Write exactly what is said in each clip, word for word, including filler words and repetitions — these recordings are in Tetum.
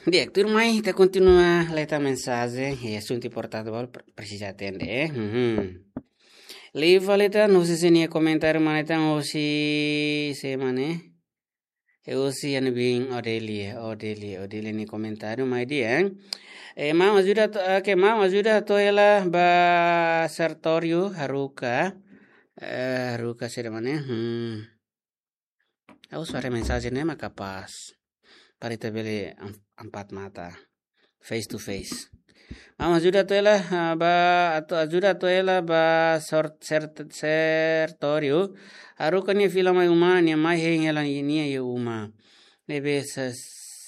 Di'ak, tuirmai ita kontinua lee tan mensajen, e asuntu importante balu pre-, presiza atende, eh. Mhm. Liu fali tan, husi sira-nia komentáriu, mana tan, husi semana, eh. E husi ha'u-nia biin Odelia, Odelia, Odelia nia komentáriu, mai di'ak, eh. Eh, maun ajuda to-, eh, ke maun ajuda hato'o hela ba Sertório, haruka, eh, haruka sira mana, eh. Hmm. Ha'u haree mensajen ne'e mak kapás. Para ita bele am-, empat mata. Face to face. Maun ajuda hato'o hela, ah, ba, atu ajuda hato'o hela ba sort-, sert-, Sertório. Haruka nia fila mai uma, nia mai hein hela nia iha uma. Ne'ebé Se-,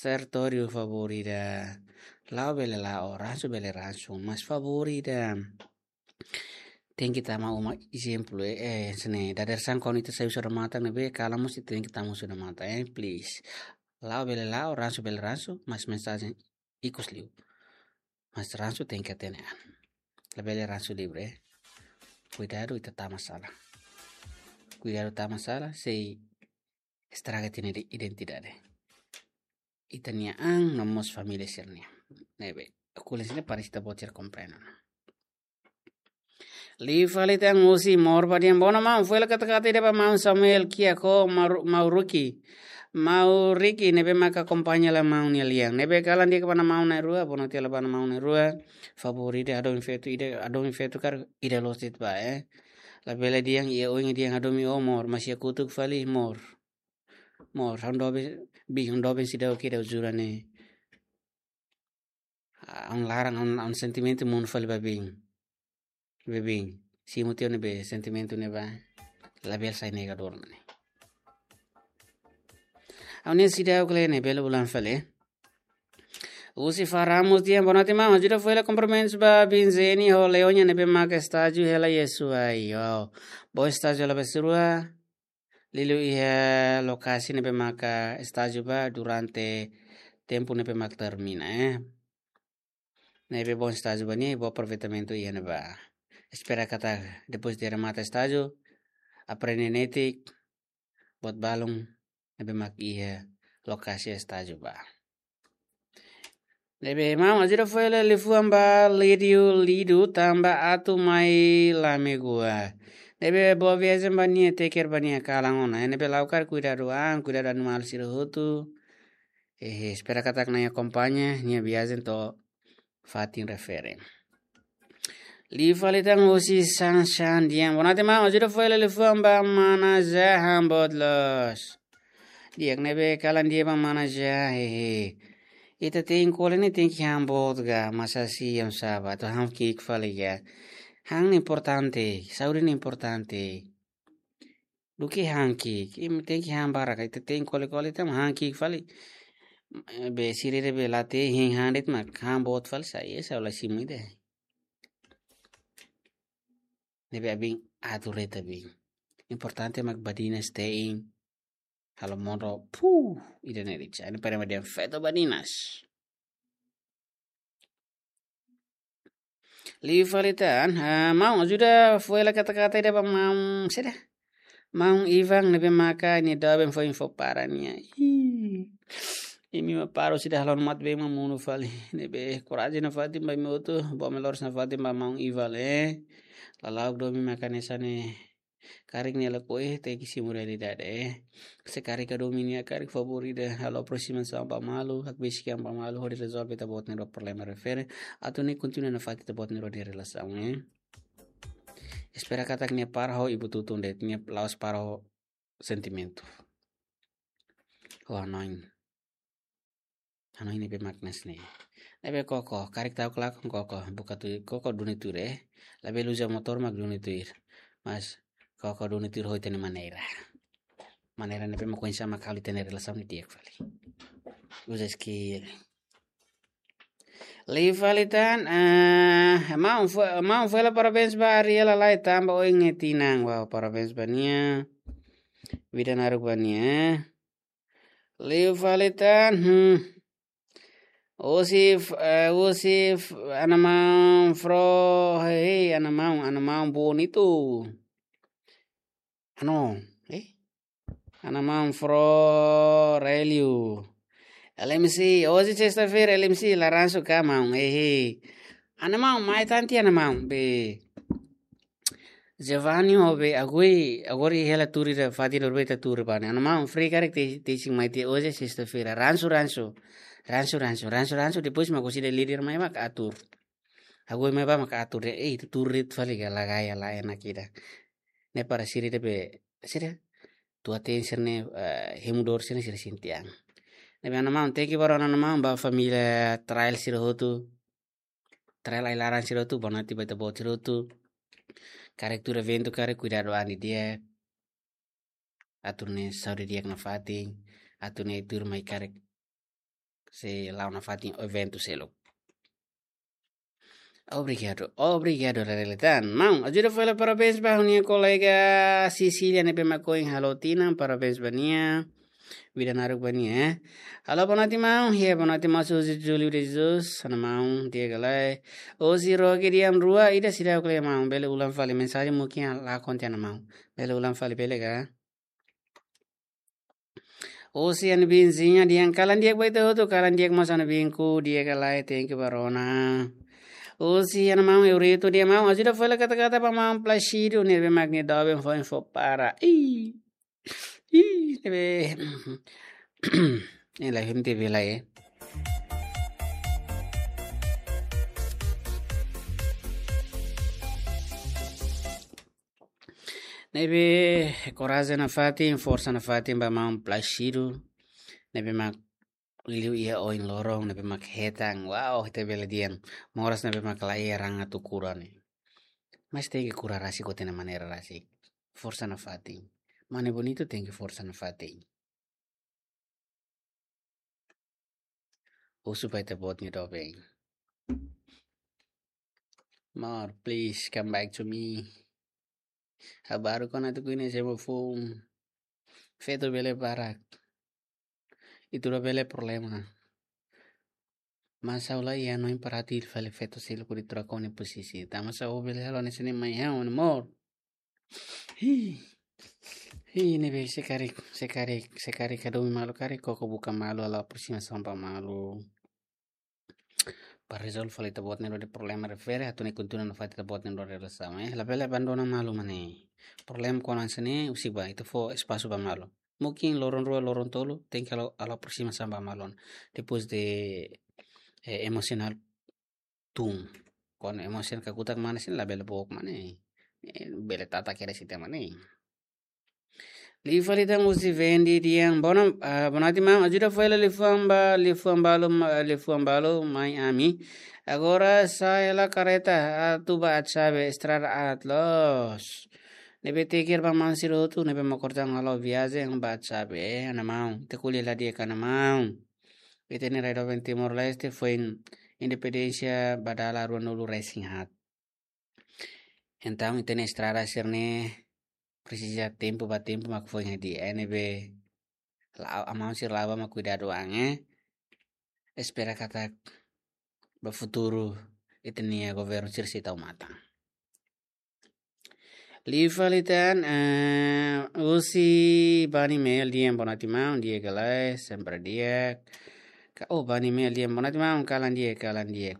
Sertório favór ida. La'o bele la'o, ransu bele ransu, mas favór ida. Tenke tama uma ezemplu, eh, eh, sene, dadeer-saan kuandu ita sai husi odamatan ne'ebé, kalan mós ita tenke tama husi odamatan, eh, please. La'o bele la'o, ransu bele ransu, mas mensajen ikus liu. Mas ransu tenke hatene an. Labele ransu livre, eh. Kuidadu ita tama sala. Kuidadu tama sala, sei estraga ita-nia ide-, identidade. Ita-nia an, no mós família sira-nian. Ne'ebé, ko'alia sira para ita-boot sira komprende. Liu fali tan husi Mor Badian, bona maun, fó hela kata-kata ida ba maun Samuel Kiako Mauru-, Mauriki. Mauriki, ne'ebé maka akompaña hela maun nia lian. Ne'ebé kalan di'ak ba maun na'in-rua, bona tiha hela ba maun na'in-rua. Favór ida hadomi feto, ida hadomi feto karik ida loos de'it ba, eh. Labele dehan iha oin dehan hadomi ó Mor, mas iha kotuk fali Mor. Mor, ha'u doben, biin, ha'u doben seidauk ida jura ne'e. Ah, ha'u laran, ha'u, ha'u sentimentu monu fali ba biin. Ba biin. Simu tiha ne'ebé sentimentu ne'ebá. Labele sai negadór mak ne'e. Ha'u-nia seidauk lee ne'e bele ulang fali. Husi Fa Ramos dehan, bona tiha maun, ajuda fó hela kumprimentus ba biin Zeni ho Leonia ne'ebé maka estájiu hela iha Suai. Wow. Boot estájiu hela ba sira-rua. Liuliu iha lokasi ne'ebé maka estájiu ba durante tempu ne'ebé maka termina, eh. Ne'ebé bom estájiu ba nia, bom aproveitamentu iha ne'ebá. Espera katak depois de remata estájiu, aprende netik buat balun ne'ebé mak iha lokasi estájiu ba. Ne'ebé maun ajuda fó hela liafuan ba Lídio Lido tanba atu mai Lamegoa. Ne'ebé boa viajen ba nia, take care ba nia kalan ona. Ne'ebé la'o karik kuidadu an, kuidadu animál sira hotu. Eh, espera katak Na'i akompaña nia viajen to'o fatin refere. Liu fali tan husi San San dehan, bona tiha maun, ajuda fó hela liafuan ba mana Zé han boot loos. Di'ak, ne'ebé kalan di'ak ba mana Zé, hehe. Ita tenke ko'alia ne'e tenke han boot ga, masa si yang sabat, atu han ki'ik fali ga. Han ne'e importante, saúde ne'e importante. Duké han ki'ik, imi tenke han barak, ita tenke ko'alia-ko'alia tan han ki'ik fali. Eh, be sira be la te'in han de'it mak han boot fali, sai esa la simu ida. Ne'ebé abin atu reta bin. Importante mak badinas te'in. Halo modo, puh, ida ne'e rica. Ne'e para madian feto badinas. Liu fali tan, ah, maun ajuda fó hela kata-kata ida ba maun, saida? Maun Ivan ne'ebé maka nia doben fó info para nia. Ih, imi mak para sira halo mat be mak monu fali. Ne'ebé korajen nafatin ba imi hotu, boot loos nafatin ba maun Ivan, eh. La'ós domin maka hanesan ne'e. Karik nia lakohi, tenke simu realidade, eh. Se karik hadomi nia karik favór ida halo aproximasaun ba malu, hakbesik an ba malu, hodi rezolve ita-boot nia problema refere, atu nia kontinua nafatin ita-boot nia relasaun, eh. Espera katak nia para ho ibun-tutun de'it, nia la'ós para ho sentimentu. Ho hanoin. Hanoin ne'ebé mak hanesan ne'e. Ne'ebé koko, karik tau kelak koko, buka tu koko duni tuir, eh. Labele uza motór mak duni tuir. Mas koko duni tuir ho ita-nia maneira. Maneira ne'ebé mak oinsá mak halo ita-nia relasaun ne'e di'ak fali. Uza skill. Liu fali tan, eh, maun fó, maun fó hela parabéns ba Ariela Lai tanba oin nia tinan. Wow, parabéns ba nia. Vida naruk ba nia, eh. Liu fali tan, hmm. Husi, eh, husi, ana maun Fro, hei, ana maun, ana maun bonitu. Ano, eh? Ana maun Fro Relio. L M C, hoje sexta-feira, L M C, la ransu ka maun, eh, eh. Ana maun, mai tan tiha ana maun, be. Giovanni ho be Agui, agora hela tuur ida fatin ne'ebé ita tuur ba ne'e. Ana maun, free karik te, te sing mai tiha hoje sexta-feira, ransu, ransu. Ransu, ransu, ransu, ransu, depois mak husi ida líder mai mak atur. Agui mai ba mak atur de'it, eh, ita tuur de'it fali ka la gaya la enak ida. Ne'e para sira ida be, sira, tua ten sira ne'e, eh, hemu dor sira ne'e sira sente an. Ne'ebé ana maun, thank you ba rona ana maun, ba família Trail sira hotu. Trail ai-laran sira hotu, bonoite ba ita-boot sira hotu. Karik tuur eventu, karik kuidadu an didi'ak. Atu nune'e saúde di'ak nafatin, atu nune'e tuur mai karik sei la'o nafatin eventu seluk. Obrigadu, obrigadu, Leleletan. Maun, ajuda fali parabéns ba ha'u-nia kolega Cecília ne'ebé mak ohin halo tinan, parabéns ba nia. Vida naruk ba nia, eh. Halo, bonoite maun, hia bonoite maun Suzy Júlio de Jesus, ana maun, di'ak ka lae. Hoje roge di'ak rua, ida seidauk lee maun, bele ulang fali mensajen mungkin la konte ana maun. Bele ulang fali bele ka? Hoje ana Binzinha dehan kalan di'ak ba ita hotu, kalan di'ak mós ana Binku, di'ak ka lae, thank you ba rona. Hoje ana maun Eurito dehan maun, ajuda fali kata-kata ba maun Plácido, ne'ebé mak nia doben foin fó para. Ih, ih, ne'ebé. Ne'e la hente bela, eh. Ne'ebé korajen nafatin, forsa nafatin ba maun Plácido. Ne'ebé mak liu iha oin loron, ne'ebé mak hetan. Wow, ita bele dehan. Moras ne'ebé mak la iha raan atu kura ne'e. Mas tenke kura rasik ho ita-nia maneira rasik. Forsa nafatin. Mane Bonito tenke forsa nafatin. Husu ba ita-boot nia doben. Amor, please come back to me. Ha'u baru kona tu kuine semo foun. Feto bele barak. Ita rua bele problema. Mas ha'u la iha hanoin para atu hili fali feto seluk hodi troka ó-nia posisi. Tanba sá ó bele halo hanesan ne'e mai ha'u, amor? Hi. Hi, ne'ebé se karik, se karik, se karik hadomi malu karik, koko buka malu, halo aprosimasaun ba malu. Para rezolve fali ita-boot nia dor de problema refere, atu nune'e kontinua nafatin ita-boot nia dor de relasaun, eh. Labele abandona malu mak ne'e. Problema kona hanesan ne'e, husik ba, ita fó espasu ba malu. Mungkin loron rua, loron tolu, tenke halo, halo aprosimasaun ba malu. Depois de, eh, emosionál tun. Kuandu emosionál kakutak mak ne'e, sin labele book mak ne'e. Eh, bele tata kere sita mak ne'e. Liu fali tan husi Vendi dehan, bona, ah, bonoite maun, ajuda fali liafuan ba, liafuan balu, ma-, liafuan balu mai ami. Agora sa'e hela kareta, atu ba Atsabe, estrada aat loos. Ne'ebé thank you ba maun sira hotu, ne'ebé mak orsida halo viajen ba Atsabe, eh, ana maun. Ita ko'alia la di'ak ka ana maun. Ita-nia rai doben Timor-Leste foin independénsia ba dala ruanulu-resin-haat. Entaun, ita-nia estrada sira-ne'e presiza tempu ba tempu mak foin hadi'a, eh, ne'ebé la'o, amau sira la'o ba mak kuidadu an, eh. Espera katak ba futuru ita-nia governu sira sei tau matan. Liu fali tan, eh, husi Bani Mel dehan bonoite maun, di'ak ka lae, sempre di'ak. Ka, oh, Bani Mel dehan bonoite maun, kalan di'ak, kalan di'ak.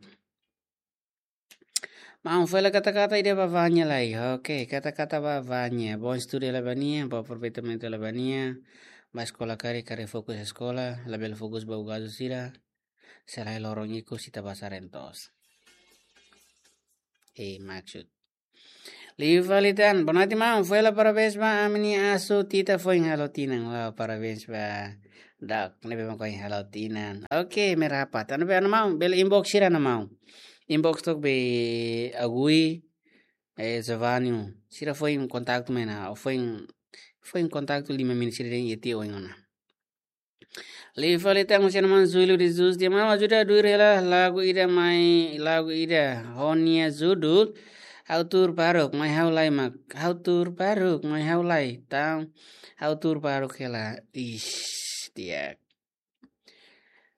Maun, fó hela kata-kata ida ba Vânia lai. Oke, kata-kata ba Vânia. Bom estudu hela ba nia, bom aproveitamento hela ba nia. Ba eskola karik, karik fokus eskola, labele fokus ba ugazu sira. Selae loron ikus ita basa rentos. Eh, maksud. Liu fali tan, bonoite maun, fó hela parabéns ba ami-nia asu Tita foin halo tinan. Wow, parabéns ba Dak, ne'ebé mak ohin halo tinan. Oke, merapa. Tan be ana maun, bele inbox sira ana maun. Inbox tok be Agui, eh, Giovanni. Sira foin kontaktu mai ona, foin, foin kontaktu lima menit sira dehan iha tiha oin ona. Liu fali tan husi ana maun Júlio de Jesus dehan maun ajuda duir hela lagu ida mai, lagu ida ho nia judul Ha'u Tuur Baruk Mai Ha'u Lai mak, Ha'u Tuur Baruk Mai Ha'u Lai. Tan, ha'u tuur baruk hela. Ish, di'ak.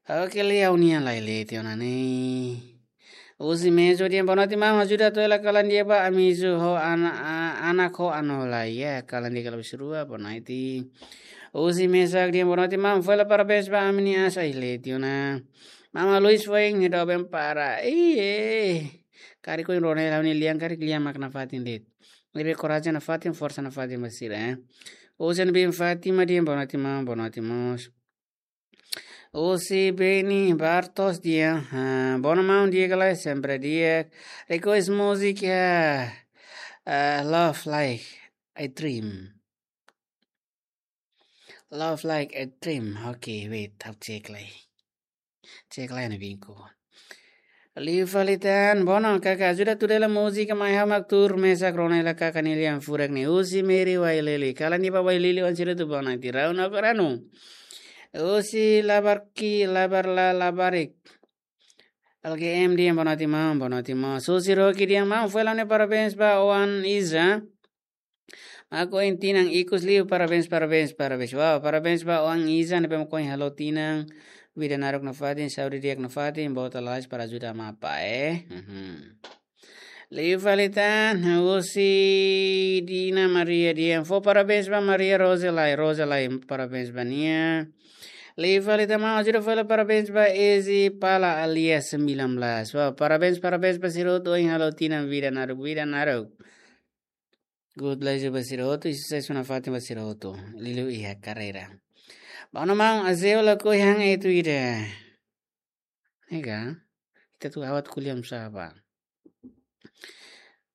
Oke, lee ha'u-nia lai lee tiha ona ne'e. Husi Mejo dehan bonoite maun ajuda atu hela kalan di'ak ba ami isu ho ana, a-, anak ho ano lai ya, kalan di'ak kala bisrua, bonoite. Husi mesak di'ak, boa noite maun, fó hela parabéns ba ami-nia asa, ai leti ona. Maun Luis foin nia doben para. Iye. Karik ohin rona hela ha'u-nia lian, karik lian mak nafatin de'it. Ne'ebé korajen nafatin, forsa nafatin ba sira, eh. Husi Ana Bin Fátima di'ak, boa noite maun, boa noite mós. Husi Beni Bartos di'ak, ah, boa noite maun, di'ak ka lae, sempre di'ak. Request música, ah, Love Like a Dream. Love Like a Dream. Oke, wait, ha'u cek lai. Cek lai ne'e binku. Liu fali tan, boa noite kaka, ajuda tuda hela múzika mai ha'u mak tuur mesak rona hela kaka nia lian furak ne'e. Husi Mary Wailili. Kalan di'ak ba Wailili, oan sira hotu boa noite. Rau no karanu. Husi Labarki, Labar la Labarik. L G M di'ak, boa noite maun, boa noite maun. Husi Rocky di'ak, maun, fó hela ne'e parabéns ba oan Iza. Mak oin tinan ikus liu, parabéns, parabéns, parabéns. Wow, parabéns ba oan Iza ne'ebé mak oin halo tinan. Vida naruk nafatin, saúde di'ak nafatin, bota lais para ajuda ama apá, eh. Mhm. Liu fali tan, husi Dina Maria di'ak, fó parabéns ba Maria Rosa Lai, Rosa Lai, parabéns ba nia. Liu fali tan maun, ajuda fó hela parabéns ba Ezi Pala alias sembilan belas. Wow, parabéns, parabéns ba sira hotu ohin halo tinan, vida naruk, vida naruk. Good luck ba sira hotu, i susesu nafatin ba sira hotu. Liuliu iha karreira. Boa noite maun, Azeu lakohi han etu ida. Nega, ita atu awat kuliam saba.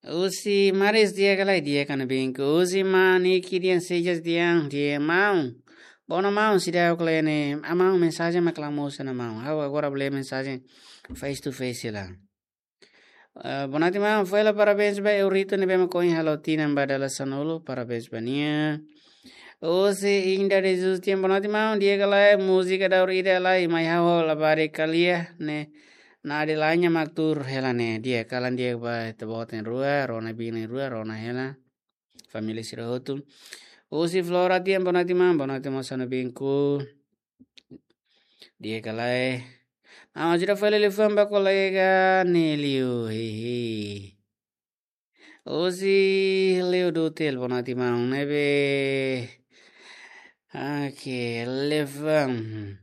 Husi Maris di'ak ka lae, di'ak ka ne'e binku. Husi Maniki di'ak, Sejas di'ak, di'ak maun. Boa noite maun, seidauk ka lae ne'e, ah maun, mensajen mak la mosu ona maun. Ha'u agora bele mensajen face to face la. Eh, boa noite maun, fó hela parabéns ba Eurito ne'ebé mak ohin halo tinan ba dala sanulu, parabéns ba nia. Husi Inda de Jesus di'ak, boa noite maun, di'ak ka lae, múzika daur ida lai, mai ha'u labarik ko'alia ne'e, Nadi Lanya mak tuur hela ne'e, di'ak, kalan di'ak ba ita-boot na'in-rua, rona biin na'in-rua, rona hela. Família sira hotu. Husi Flora di'ak, boa noite maun, boa noite maun, sano binku. Di'ak ka lae. Ah, ajuda fó hela liafuan ba kolega Nelio, hehe. Husi Leo Dutel, boa noite maun, ne'ebé. Oke, liafuan.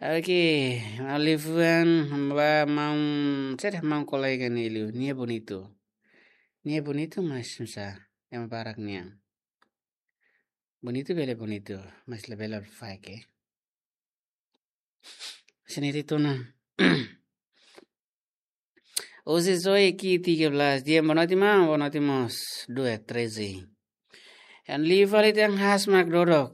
Oke, liafuan ba maun, sede maun kolega Nelio, nia bonitu. Nia bonitu, mas susah. Ema barak nian. Bonitu bele bonitu, mas labele fake. Sini tituna. Husi Zoe Ki tiga belas, di'ak, boa noite maun, boa noite mós, dua treze. Liu fali tan, haas mak dodok.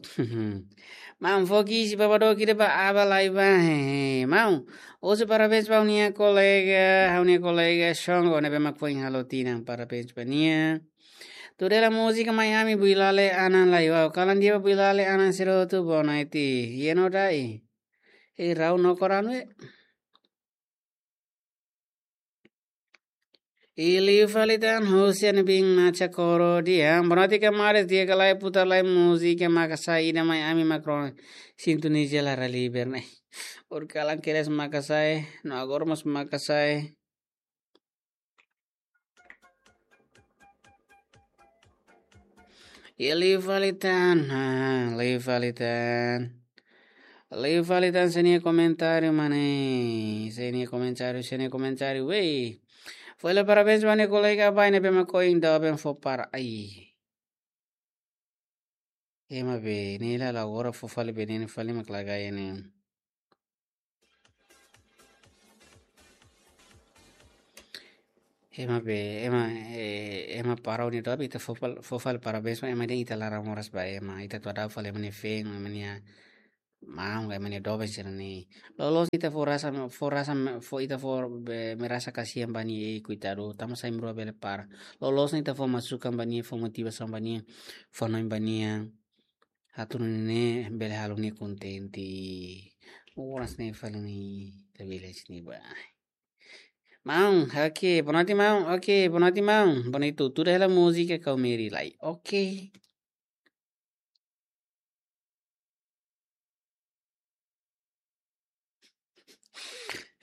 Maun, fó ki'ik ba dook ida ba Aba Laiba, hehe. Maun, husu parabéns ba ha'u-nia kolega, ha'u-nia kolega Shongo ne'ebé mak foin halo tinan, parabéns ba nia. Tuur hela múzika Mai Ami, Builale Anan lai. Wow, kalan di'ak ba Builale Anan sira hotu, boa noite. Yeno dai. Hei, rau no koran we. Liu fali tan, husi Ana Bin Nacha Koro di'ak, boa noite kamares, di'ak ka lae, putar lai múzika makasai ida Mai Ami mak rona. Sintoniza la ra liber ne'e. Ohin kalan kedas makasai, no agora mós makasai. Liu fali tan, ah, liu fali tan. Liu fali tan, sira-nia komentáriu, mane. Sira-nia komentáriu, sira-nia komentáriu, wei. Fó hela parabéns ba ha'u-nia kolega Abai ne'ebé mak ohin doben fó para ai. Ema be, ne'e la, la agora fó fali be, ne'e fali mak lagai ne'e. Ema be, ema, eh, ema para ha'u-nia doben, ita fó fal-, fó fali parabéns, ema dehan ita laran moras ba ema, ita atu hadau fali ema nia feen, ema nia maun, ema nia doben sira-ne'e. Loloos ita fó rasa, fó rasa, fó ita fó be, merasa kasihan ba nia, ei, koitadu, tanba sa'e ema rua bele para. Loloos ita fó masukan ba nia, fó motivasaun ba nia, fó hanoin ba nia. Atu nune'e bele halo nia kontente. Moras ne'e fali ne'e, ita bele sini ba. Maun, oke, boa noite maun, oke, boa noite maun. Bonitu, tuur hela múzika Kau Meri lai. Oke.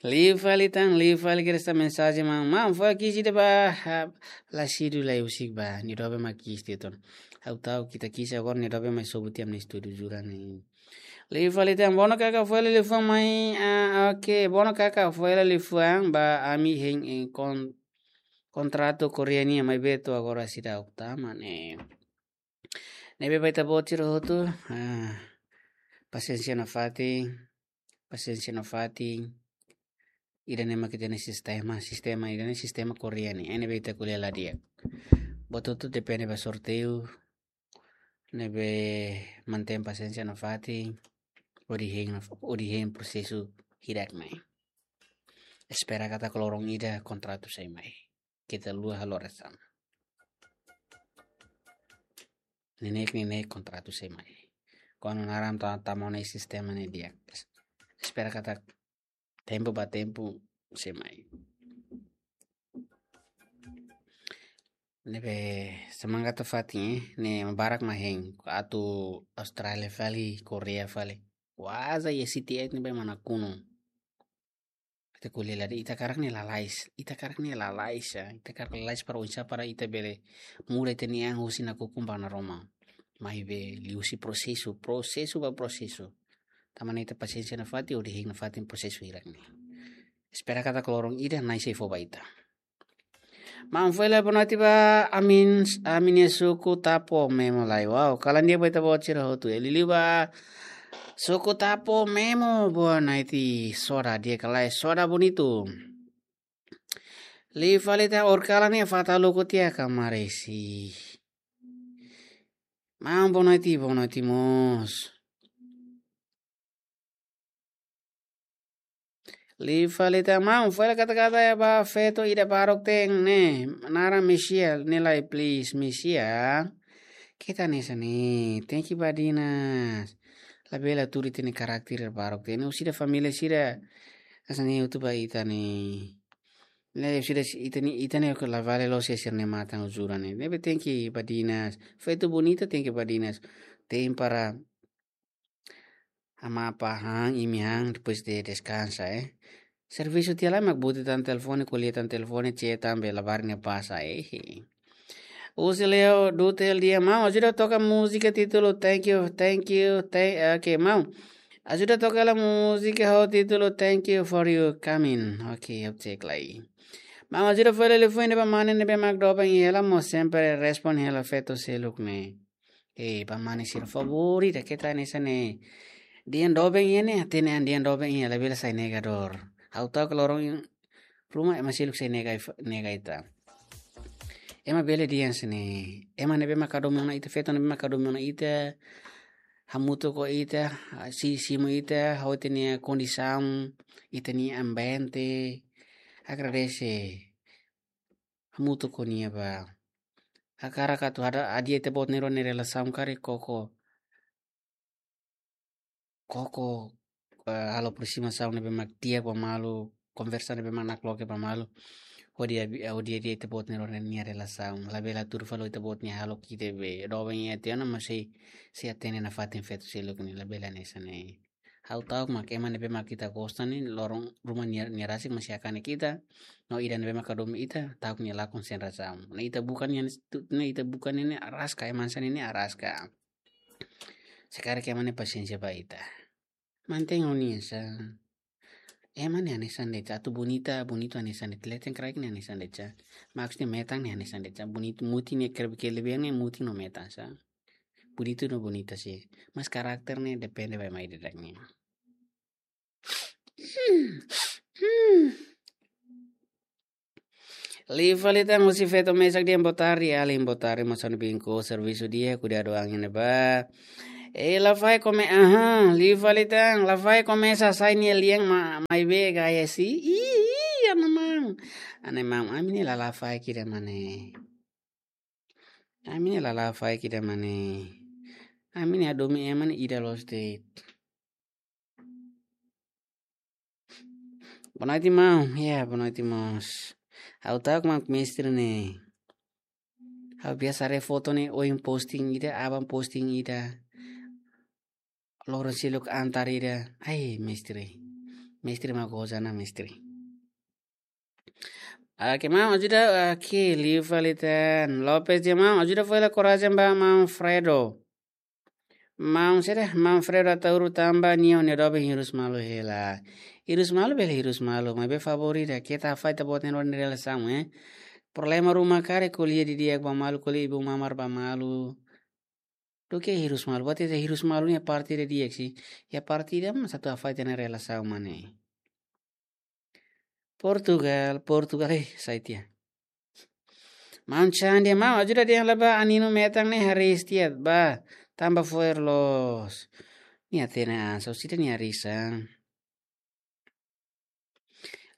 Liu fali tan, liu fali kedas tan mensajen, maun. Maun, fó ki'ik ida ba, ah, Lasidu lai husik ba, nia doben mak ki'ik ida tan. Ha'u ta'uk ita kisah agora ne'e doben mai sobu tiha ami-nia estúdiu jura ne'e. Liu fali tan, bono kaka fo'er liafuan mai, ah, oke, bono kaka fo'er liafuan ba ami hein, eh, kon-, kontratu Koreia nian maibé to'o agora seidauk tama ne'e. Ne'ebé ba ita-boot sira hotu, ah, pasiénsia nafatin, pasiénsia nafatin. Ida-ne'e mak ita-nia sistema, sistema ida-ne'e sistema Koreia nian, ne'ebé ita ko'alia la di'ak. Buat hotu depende ba sorteiu, ne'ebé mantein pasiénsia nafatin, hodi hein naf-, hodi hein prosesu hirak-ne'e. Espera katak loron ida kontratu sei mai. Keta haluha halo orasaun. Neineik, neineik kontratu sei mai. Kuandu naran ta-, tama ona iha sistema ne'e di'ak. Es-, espera katak tempu ba tempu sei mai. Ne'ebé semangat nafatin, eh, ne'e barak mak hein. Atu Austrália fali, Koreia fali. Waza iha siti et ne'ebé manakunu. Ita ko'alia la di'ak, ita hakarak ne'e lalais, ita hakarak ne'e lalais, ya. Ita hakarak lalais para oinsá para ita bele muda ita-nia an husi nakukun ba naroman. Maibé liuhusi prosesu, prosesu ba prosesu. Tanba ne'e ita pasiénsia nafatin, hodi hein nafatin prosesu hirak-ne'e. Espera katak loron ida Na'i sei fó ba ita. Maun fo'er lai bonoite ba ami-nia, ami-nia suku Tapo Memo lai. Wow, kalan di'ak ba ita-boot sira hotu. Eh, liuliu ba suku Tapo Memo, bonoite, soda di'ak ka lae, soda bonitu. Liu fali tan, or kalan ne'e fata luku tiha ka maresi. Maun bonoite, bonoite mós. Liu fali tan, maun fo'er lai kata-kata ba feto ida baruk ten ne'e, naran Mesia, ne'e lai please, Mesia. Keta hanesan ne'e, tenke badinas. Labele tuur ita-nia karakter baruk ten ne'e, husi ita família sira. Hanesan ne'e hotu ba ita ne'e. Ne'e sira ita-nia, ita-nia ke la vale loos sira-nia matan jura ne'e. Ne'ebé tenke badinas. Feto bonita tenke badinas. Tem para amapa han, imi han, depois de deskansa, eh. Servisu tiha lai mak buti tan telefone, ko'alia tan telefone, chat tan be labarik ne'e pasa, eh. Husi Leo Dutel dehan, maun, ajuda toka múzika títulu Thank You, Thank You, thank, oke, maun. Ajuda toka hela múzika ho títulu Thank You for You Coming. Oke, ha'u cek lai. Maun, ajuda fo'er lai liafuan ba mane ne'ebé mak doben iha hela mós sempre responde hela feto seluk ne'e. Eh, ba mane sira favór ida, keta hanesan ne'e. Dehan doben iha ne'e, hatene an dehan doben iha, labele sai negadór. Ha'u ta'uk loron ruma ema seluk sei nega, nega ita. Ema bele dehan hanesan ne'e. Ema ne'ebé mak hadomi ona ita, feto ne'ebé mak hadomi ona ita. Hamutuk ho ita, si-, simu ita, ho ita-nia kondisaun, ita-nia ambiente. Agradese. Hamutuk ho nia ba. Hakarak atu hada, hadi'a ita-boot nia rua nia relasaun karik koko. Koko, eh, halo aproximasaun ne'ebé mak di'ak ba malu, konversa ne'ebé mak nakloke ba malu. Hodi hadi'a, hodi hadi'a ita-boot nia rua nia relasaun. Labele tuur fali ita-boot nia hahalok ida be doben iha tiha ona, mas sei, sei hatene nafatin feto seluk ne'e, labele hanesan ne'e. Ha'u ta'uk mak ema ne'ebé mak ita gosta ne'e, loron ruma nia, nia rasik mak sei hakane ita. No ida ne'ebé mak hadomi ita, ta'uk nia lakon sein razaun. Ne'e ita buka nia, ne'e ita buka nia ne'e araska, ema hanesan ne'e ne'e araska. Se karik ema ne'e pasiénsia ba ita. Mantein ho nia sa. Ema ne'e hanesan de'it, atu bonita, bonitu hanesan de'it, leten kraik ne'e hanesan de'it sa. Maksudnya metan ne'e hanesan de'it sa. Bonitu, mutin ne'e kere-, kelebihan ne'e mutin no metan sa. Bonitu no bonita sih. Mas karakter ne'e depende ba ema ida-idak nian. Liu fali tan, husi feto mesak dehan boa tarde, alin boa tarde, mós ami binku servisu di'ak, kuidadu an iha ne'ebá. Eh, Lafaek kome-, aha, liu fali tan, Lafaek komesa sai nia lian ma-, maibé gaya si, ih, ih, ana maun. Ana maun, ami ne'e la Lafaek ida mane. Ami ne'e la Lafaek ida mane. Ami ne'e hadomi ema ne'e ida loos de'it. Bonoite maun, ya, bonoite mós. Ha'u ta'uk mak mestre ne'e. Ha'u biasa haree foto ne'e, ohin posting ida, aban posting ida. Loron seluk antar ida. Ai, mestre. Mestre mak goza ona, mestre. Oke, maun ajuda, oke, liu fali tan. Lopes dehan maun ajuda fó hela korajen ba maun Fredo. Maun saida, maun Fredo Ataúro tanba nia ne'e doben hirus malu hela. Hirus malu bele hirus malu, maibé favór ida, keta hafahe ita-boot nia relasaun, eh. Problema ruma karik ko'alia didi'ak ba malu, ko'alia ibu mamar ba malu. Duké hirus malu, buat ida hirus malu nia parte ida di'ak sih. Ya parte ida mós atu hafahe ita-nia relasaun mak ne'e. Portugal, Portugal, eh, sai tiha. Maun Chan dehan maun ajuda dehan la ba aninu metan ne'e hariis tiha ba tanba fo'er loos. Nia hatene an, só sida nia hariis an.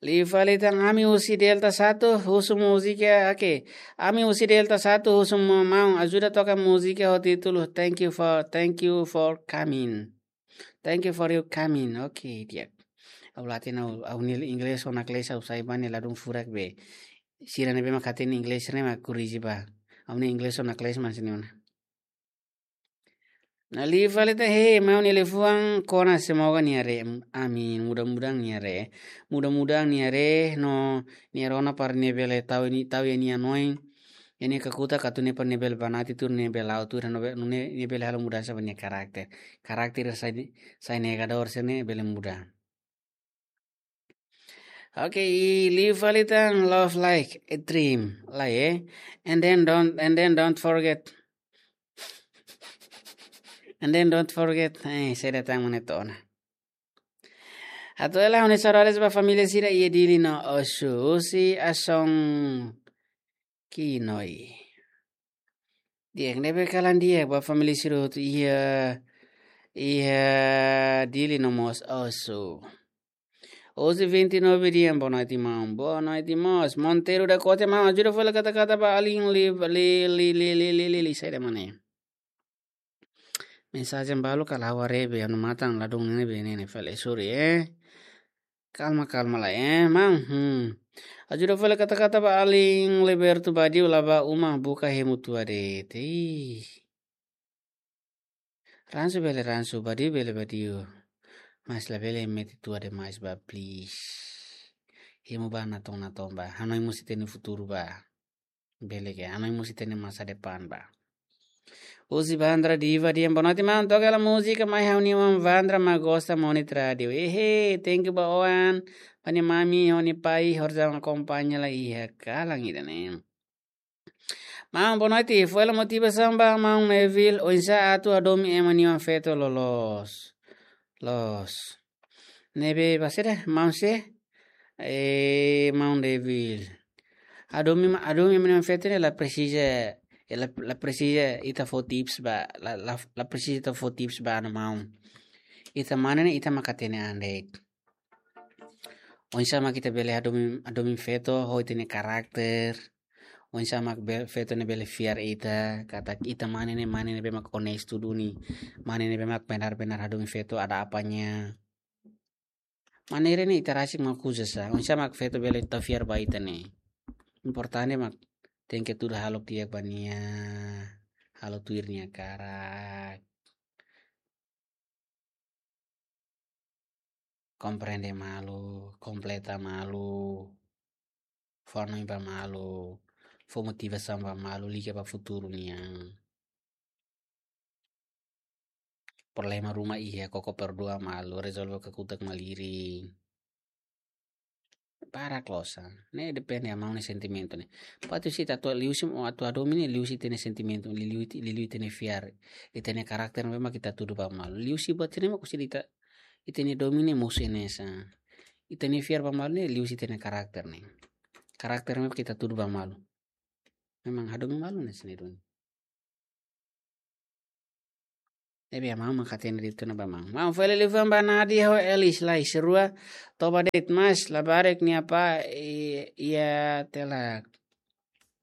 Liu fali tan ami husi Delta satu, husu múzika, oke. Ami husi Delta satu, husu ma-, maun ajuda toka múzika ho títulu Thank You for, Thank You for Coming. Thank You for Your Coming. Oke, di'ak. Ha'u la hatene, ha'u-nia inglés ona kles ha'u sai ba ne'e ladún furak be. Sira ne'ebé mak hatene inglés ne'e mak korrije ba. Ha'u-nia inglés ona kles mak sini ona. Liu fali tan, hei, maun nia liafuan kona semoga nia haree, amin, mudah-mudahan nia haree. Mudah-mudahan nia haree, no nia rona para nia bele tau iha, tau iha nia hanoin. Nia kakutak atu nune'e para nia bele banati tuur, nia bele la'o tuur, no be-, nune'e nia bele halo mudansa ba nia karakter. Karakter sai, sai negadór sira-ne'e bele muda. Oke, i liu fali tan love like a dream, lai, eh. And then don't, and then don't forget. And then don't forget, eh, saida tan mak ne'e to'o ona. Hato'o hela ha'u-nia saudades ba família sira iha Dili no Osu, husi Ason Kinoi. Di'ak, ne'ebé kalan di'ak ba família sira hotu iha, iha Dili no mós Osu. Osu vinte e nove dehan boa noite, maun. Boa noite, mós. Monteiro da Corte, maun ajuda fó hela kata-kata ba alin li, li, li, saida mak ne'e. Mensajen balu kala ha'u haree be, ha'u-nia matan ladún ne'e be ne'e, ne'e fali, sorry, eh. Kalma, kalma lai, eh, maun. Hmm. Ajuda fó hela kata-kata ba alin libertu badiu la bá uma buka hemu tua de'it. Ih. Ransu bele ransu, badiu bele badiu. Mas labele mete tua demais ba, please. Hemu ba natoon-natoon ba. Hanoin mós ita-nia futuru ba. Bele ke, hanoin mós ita-nia masa depan ba. Husi Vandra Diva dehan boa noite, maun, toka hela múzika mai ha'u-nia oan Vandra mak gosta monitor rádiu. Ehe, thank you ba oan, ba nia mami, ho nia pai, horizon akompaña lai iha kalan ida-ne'e. Maun, boa noite, fó hela motivasaun ba maun Neville, oinsá atu hadomi ema nia oan feto loloos. Loos. Ne'ebé ba saida, maun sé? Eh, maun Neville. Hadomi ma-, hadomi ema nia oan feto ne'e la presiza, eh, la, la presiza ita fó tips ba, la, la, la presiza ita fó tips ba anu maun. Ita mane ne'e ita mak hatene an de'it. Oinsá mak ita bele hadomi, hadomi feto ho ita-nia karakter. Oinsá mak be-, feto ne'e bele fiar ita, katak ita mane ne'e, mane ne'ebé mak onestu duni. Mane ne'ebé mak benar-benar hadomi feto ada apanya. Maneira ne'e ita rasik mak uza sa. Oinsá mak feto bele tau fiar ba ita ne'e. Importante mak tenke tuda halo di'ak ba nia, halo tuir nia karak. Komprende malu, kompleta malu, fó hanoin ba malu, fó motivasaun ba malu, liga ba futuru nian. Problema ruma iha, koko perdua malu, rezolve kakutak malirin. Barak loos sa. Ne'e depende ba maun nia sentimentu ne'e. Buat husi ita atu liuhusi, atu hadomi ne'e liuhusi ita-nia sentimentu, liuliu ita, liuliu ita-nia fiar, ita-nia karakter ne'ebé mak ita tudu ba malu. Liuhusi buat ne'e mak husi ita, ita-nia domin ne'e mosu hanesan. Ita-nia fiar ba malu ne'e liuhusi ita-nia karakter ne'e. Karakter ne'ebé mak ita tudu ba malu. Memang hadomi malu ne'e sini duni. Ne'ebé maun mak hatene de'it ona ba maun. Maun fó hela liafuan ba Nadia ho Elis lai, sira rua toba de'it, mas labarik nia apá i-, iha Telak.